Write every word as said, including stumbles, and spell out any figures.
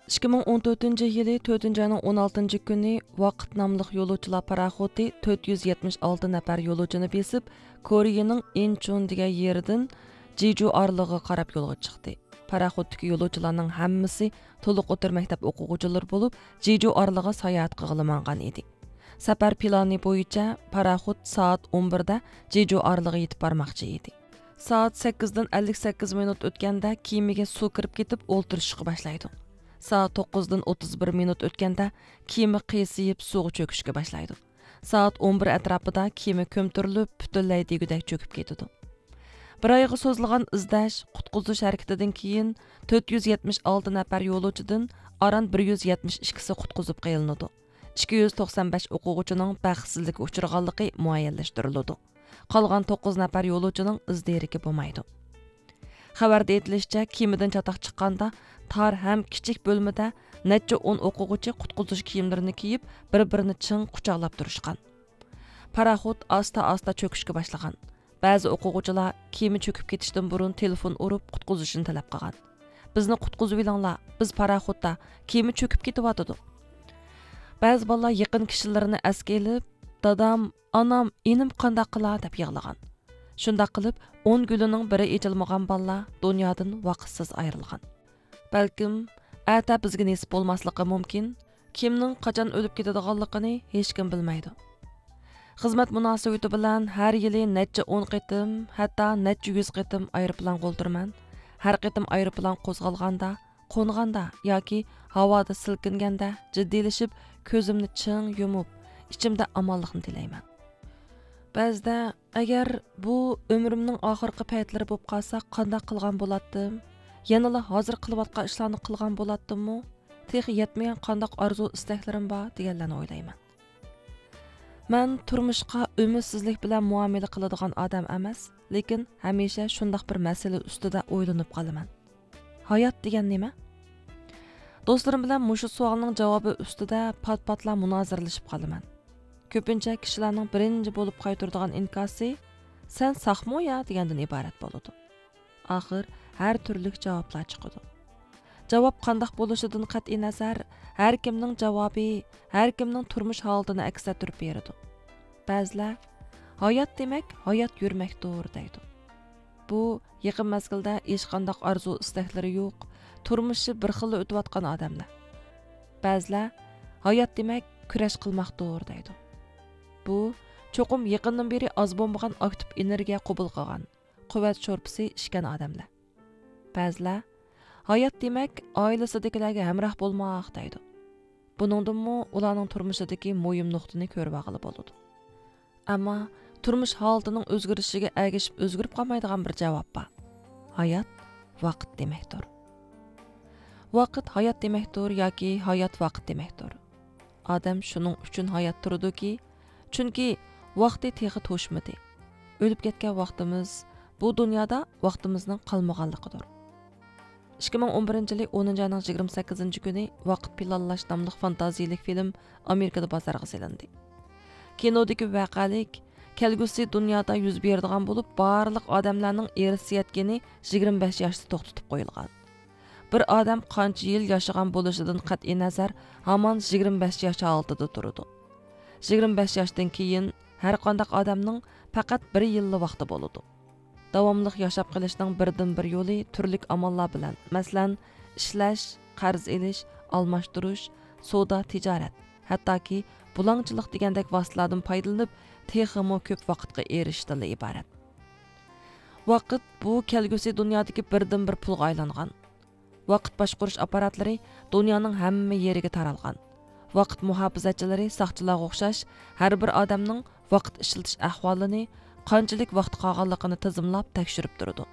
ئىككى مىڭ ئون تۆتىنچى يىلى تۆتىنچى ئاينىڭ ئون ئالتىنچى كۈنى ۋاقىت ناملىق يولۇچىلار پاراخوتى تۆت يۈز يەتمىش ئالتە نەپەر يولۇچىنى بېسىپ، كورېيىنىڭ ئىنچۇن دېگەن يېرىدىن جىجۇ ئارىلىغىغا قاراپ يولغا چىقتى. پاراخوتتىكى يولۇچىلارنىڭ ھەممىسى تولۇق ئوتتۇرا مەكتەپ ئوقۇغۇچىلىرى بولۇپ، جىجۇ ئارىلىغا ساياھەت قىلغىلى ماڭغان ئىدى. سەپەر پىلانى بويىچە پاراخوت سائەت ئون بىردە جىجۇ ئارىلىغا يېتىپ بارماقچى ئىدى. سائەت سەككىزدىن ئەللىك سەككىز مىنۇت ئۆتكەندە كېمىگە سۇ كىرىپ كېتىپ ئولتۇرۇشۇشقا باشلايدۇ. سائەت توققۇزدىن ئوتتۇز بىر مىنۇت ئۆتكەندە كېمە قىيسىيىپ سۇغا چۆكۈشكە باشلايدۇ. سائەت ئون بىر ئەتراپىدا كېمە كۆمتۈرۈلۈپ، پۈتۈنلەي دېگۈدەك چۆكۈپ كېتىدۇ. بىر ئايغا سوزۇلغان ئىزدەش، قۇتقۇزۇش ھەرىكىتىدىن كېيىن تۆت يۈز يەتمىش ئالتە نەپەر يولۇچىدىن ئاران بىر يۈز يەتمىش ئىككىسى قۇتقۇزۇپ قېلىنىدۇ. ئىككى يۈز توقسان بەش ئوقۇغۇچىنىڭ بەختسىزلىككە ئۇچرىغانلىقى مۇئەييەنلەشتۈرۈلىدۇ. قالغان توققۇز نەپەر يولۇچىنىڭ ئىز دېرىكى بولمايدۇ. خەۋەردە ئېيتىلىشىچە، كېمىدىن چاتاق چىققاندا تار ھەم كىچىك بۆلمىدە نەچچە ئون ئوقۇغۇچى قۇتقۇزۇش كىيىملىرىنى كىيىپ، بىر-بىرىنى چىڭ قۇچاقلاپ تۇرۇشقان. پاراخوت ئاستا-ئاستا چۆكۈشكە باشلىغان. بەزى ئوقۇغۇچىلار كېمە چۆكۈپ كېتىشتىن بۇرۇن تېلېفون ئۇرۇپ، قۇتقۇزۇشنى تەلەپ قىلغان. «بىزنى قۇتقۇزۇۋېلىڭلار، بىز پاراخوتتا، كېمە چۆكۈپ كېتىۋاتىدۇ.» بەزى بالىلار يېقىن كىشىلىرىنى ئەسكە ئېلىپ، «دادام، ئانام، ئىنىم قانداق قىلا؟» دەپ يىغلىغان. شۇنداق قىلىپ، ئون گۈلىنىڭ بىرى ئېچىلمىغان بالىلار دۇنيادىن ۋاقىتسىز ئايرىلغان. بەلكىم، ئەتە بىزگە نېسىپ بولماسلىقى مۇمكىن. كىمنىڭ قاچان ئۆلۈپ كېتىدىغانلىقىنى ھېچكىم بىلمەيدۇ. خىزمەت مۇناسىۋىتى بىلەن ھەر يىلى نەچچە ئون قېتىم، ھەتتا نەچچە يۈز قېتىم ئايروپىلانغا ئولتۇرىمەن. ھەر قېتىم ئايروپىلان قوزغالغاندا، قونغاندا ياكى ھاۋادا سىلكىنگەندە جىددىيلىشىپ، كۆزۈمنى چىڭ يۇمۇپ، ئىچىمدە ئامانلىقنى تىلەيمەن. بەزىدە، «ئەگەر بۇ ئۆمرۈمنىڭ ئاخىرقى پەيتلىرى بولۇپ قالسا، قانداق قىلغان بولاتتىم؟ يەنىلا ھازىر قىلىۋاتقان ئىشلارنى قىلغان بولاتتىممۇ؟ تېخى يەتمىگەن قانداق ئارزۇ-ئىستەكلىرىم بار؟» دېگەنلەرنى ئويلايمەن. مەن تۇرمۇشقا ئۈمىدسىزلىك بىلەن مۇئامىلە قىلىدىغان ئادەم ئەمەس، لېكىن ھەمىشە شۇنداق بىر مەسىلە ئۈستىدە ئويلىنىپ قالىمەن. ھايات دېگەن نېمە؟ دوستلىرىم بىلەن مۇشۇ سوئالنىڭ جاۋابى ئۈستىدە پات-پاتلا مۇنازىرىلىشىپ قالىمەن. كۆپىنچە كىشىلەرنىڭ بىرىنچى بولۇپ قايتۇرىدىغان ئىنكاسى، «سەن ساقمۇ يا؟» دېگەندىن ئىبارەت بولىدۇ. ئاخىر ھەر تۈرلۈك جاۋابلار چىقىدۇ. جاۋاب قانداق بولۇشىدىن قەتئىينەزەر، ھەر كىمنىڭ جاۋابى ھەر كىمنىڭ تۇرمۇش ھالىتىنى ئەكس ئەتتۈرۈپ بېرىدۇ. بەزىلەر، «ھايات دېمەك، ھايات يۈرمەكتۇر» دەيدۇ. بۇ يېقىن مەزگىلدە ھېچقانداق ئارزۇ-ئىستەكلىرى يوق، تۇرمۇشى بىر خىللا ئۆتۈۋاتقان ئادەملەر. بەزىلەر، «ھايات دېمەك، كۈرەش قىلماقتۇر» دەيدۇ. بۇ چوقۇم يېقىندىن بېرى ئاز بولمىغان ئاكتىپ ئېنېرگىيە قوبۇل قىلغان، قۇۋۋەت شورپىسى ئىچكەن ئادەملەر. بەزىلەر، «ھايات دېمەك، ئائىلىسىدىكىلەرگە ھەمراھ بولماق» دەيدۇ. بۇنىڭدىنمۇ ئۇلارنىڭ تۇرمۇشىدىكى مۇھىم نۇقتىنى كۆرۈۋالغىلى بولىدۇ. ئەمما تۇرمۇش ھالىتىنىڭ ئۆزگىرىشىگە ئەگىشىپ ئۆزگىرىپ قالمايدىغان بىر جاۋاب بار. ھايات ۋاقىت دېمەكتۇر. ۋاقىت ھايات دېمەكتۇر ياكى ھايات ۋاقىت دېمەكتۇر. ئادەم شۇنىڭ ئۈچۈن ھايات تۇرىدۇكى، چۈنكى ۋاقتى تېخى توشمىدى. ئۆلۈپ كەتكەن ۋاقتىمىز بۇ دۇنيادا ۋاقتىمىزنىڭ قالمىغانلىقىدۇر. ئىككى مىڭ ئون بىرىنچى يىلى ئونىنچى ئاينىڭ يىگىرمە سەككىزىنچى كۈنى ۋاقىت پىلانلاش ناملىق فانتازىيىلىك فىلىم ئامېرىكىدا بازارغا سېلىندى. كىنودىكى ۋەقەلىك، كەلگۈسى دۇنيادا يۈز بېرىدىغان بولۇپ، بارلىق ئادەملەرنىڭ ئىرسىيەت گېنى يىگىرمە بەش ياشتا توختىتىپ قويۇلغان. بىر ئادەم قانچە يىل ياشىغان بولۇشىدىن قەتئىينەزەر، ھامان يىگىرمە بەش ياش ھالىتىدە تۇرىدۇ. يىگىرمە بەش ياشتىن كېيىن ھەرقانداق ئادەمنىڭ پەقەت بىر يىللا ۋاقتى بولىدۇ. داۋاملىق ياشاپ قېلىشنىڭ بىردىنبىر يولى تۈرلۈك ئاماللار بىلەن، مەسىلەن، ئىشلەش، قەرز ئېلىش، ئالماشتۇرۇش، سودا، تىجارەت، ھەتتاكى بۇلاڭچىلىق دېگەندەك ۋاسىتىلەردىن پايدىلىنىپ، تېخىمۇ كۆپ ۋاقىتقا ئېرىشىشتىنلا ئىبارەت. ۋاقىت بۇ كەلگۈسى دۇنيادىكى بىردىنبىر پۇلغا ئايلانغان. ۋاقىت باشقۇرۇش ئاپپاراتلىرى دۇنيانىڭ ھەممە يېرىگە تارالغان. ۋاقىت مۇھاپىزەتچىلىرى ساقچىلارغا ئوخشاش ھەر بىر ئادەمنىڭ ۋاقىت ئىشلىتىش ئەھۋالىنى، قانچىلىك ۋاقتى قالغانلىقىنى تىزىملاپ تەكشۈرۈپ تۇرىدۇ.